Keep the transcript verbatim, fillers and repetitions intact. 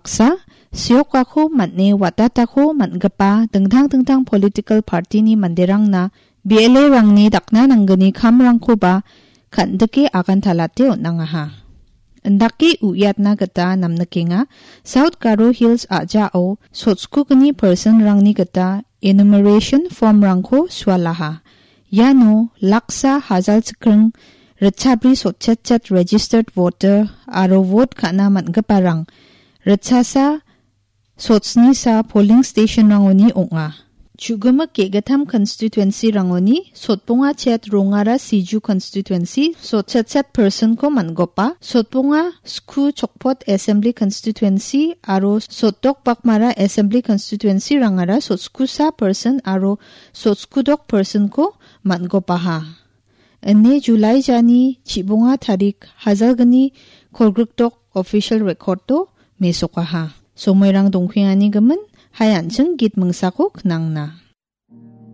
Baksa, seokako man·e watatako man·gipa dingtang dingtang political party-ni manderangna B L A-rangni dakna nanggni kamrangkoba kan·dike agantalate on·angaha. Indake uiatna gita namnikenga, South Garo Hills a·jao sotskugni person-rangni gita enumeration form-rangko sualaha. Iano laksa hajalchikring ritchabri sotchetchet registered voter aro vote ka·na man·giparang ritchasa sotsnisa polling station-rangoni ong·a. Chu·gimik ge·gittam constituency-rangoni sotbonga chet rongara Siju constituency sotchetchet person-ko man·gopa, sotbonga sku chokpot assembly constituency aro sotdok bakmara assembly constituency-rangara sotskusa person aro sotskudok person-ko man·gopaha. Ine July jani chibonga tarik hajalgni kolgrikdok official record-o mesokaha. Somoirang dongpengani gimin, hai an·ching git mingsako knangna.